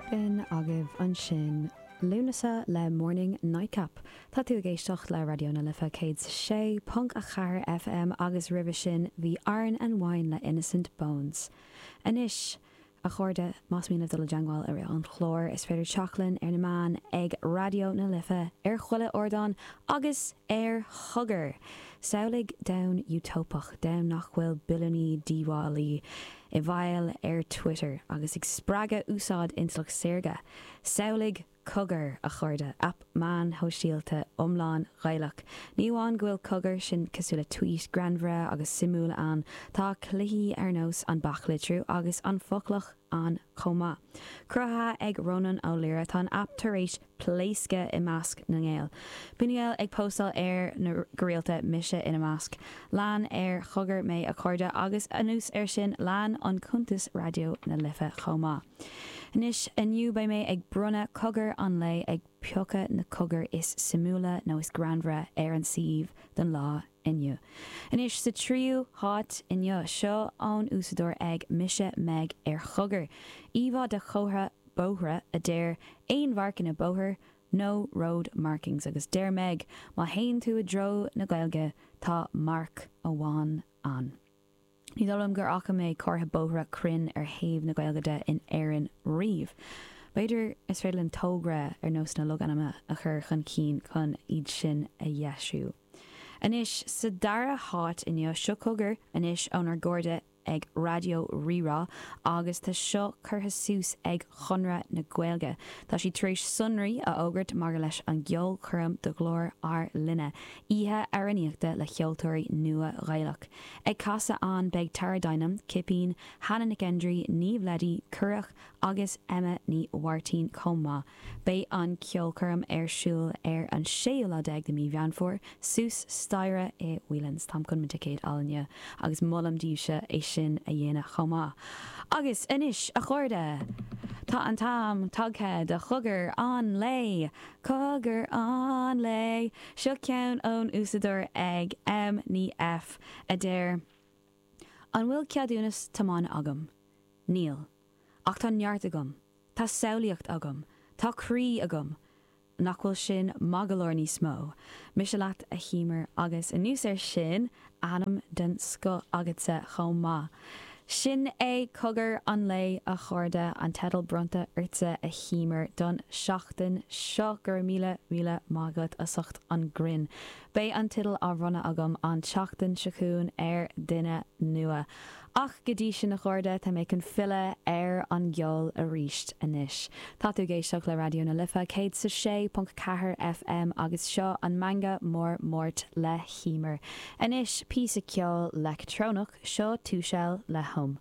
B'in agaibh ansin Lúnasa le Morning Nightcap. Tá tú ag éisteacht le Raidió na Life 106.4 FM agus roimhe sin bhí Iron and Wine le Innocent Bones. Anois, A chairde, más mian libh dul i dteangmháil i rith an chláir, is féidir teacht linn ar na meáin ag Raidió na Life ar chuile ardán agus ar Chogar! Samhlaigh domhan útóipeach, domhan nach bhfuil billiúnaí díobhálaí i bhfeighil ar Twitter agus ag spreagadh úsáid intleacht saorga. Samhlaigh Cogar, a chairde, aip meáin shóisialta iomlán Ghaelach. Ní amháin go bhfuil Cogar, sin cosúil le tweet, greannmhar agus suimiúil ann, tá cluichí ar nós an Baclitriú agus an Foclach ann chomh maith. Cruthaithe ag Rónán Ó Laoire, tá an aip tar éis pléascadh i measc na nGael. Bíonn na Gaeil ag póstáil air go rialta, mise ina measc. Lean ar Chogar mé a chairde agus anuas air sin lean an cuntas Raidió na Life chomh maith. Anois, inniu beidh mé ag bronnadh Cogar an Lae, ag piocadh na cogair is suimiúla nó is greannmhaire ar an suíomh don lá inniu. Anois, sa tríú háit inniu, seo ón úsáideoir ag Mise Meg ar Chogar. Íomhá de chomhartha bóithre a deir Aon mharcanna bóthair, No road markings agus deir Meg, má théann tú i dtreo na Gaeilge, tá marc amháin ann. Ní dóigh liom gur fhaca mé comhartha bóithre cruinn ar thaobh na Gaeilge de in Éirinn riamh. B'fhéidir is féidir linn togra ar nós na logainmneacha a chur chun cinn chun iad sin a dheisiú. Anois, sa dara háit inniu, seo cogar anois ónár gcairde ag Raidió Rí-Rá agus tá seo curtha suas ag Conradh na Gaeilge. Tá siad tar éis sonraí a fhógairt maidir leis an gceolchoirm do Ghlór ár Linne, oíche amhránaíochta le ceoltóirí nua Ghaelach. Ag casadh ann beidh Tara Dinham, Cipín, Hannah Nic Aindrí, Niamh Leddy, Currach, agus Emma Ní Mháirtín chomh maith. Beidh an ceolchoirm ar siúl ar an séú lá déag de mí Mheán Fómhair, suas staighre i Whelan's. Táim chun mo ticéad a fháil inniu agus molaim daoibhse é sin a dhéanamh chomh maith. Agus anois, a chairde, tá an t-am tagtha do chogar an lae! Cogar an lae! Seo ceann ón úsáideoir ag M Ní F a deir, An bhfuil ceadúnas tiomána agam? Níl. Ach tá neart agam. Tá samhlaíocht agam. Tá croí agam. Nach bhfuil sin maith go leor níos mó? Mise leat, a Eimear, agus anuas air sin, ainm den scoth agatsa chomh maith. Sin é cogar an lae, a chairde, an teideal bronnta ortsa, a Eimear, don seachtain seo. Go raibh míle, míle maith agat as ucht an grinn. Beidh an teideal á bhronnadh agam an tseachtain seo chugainn ar duine nua. Ach go dtí sin, a chairde, tá mé chun filleadh ar an gceol arís anois. Tá tú ag éisteacht le Raidió na Life 106.4 FM agus seo an Meangadh Mór Máirt le hEimear. Anois, píosa ceoil leictreonach, seo Tushel le Home.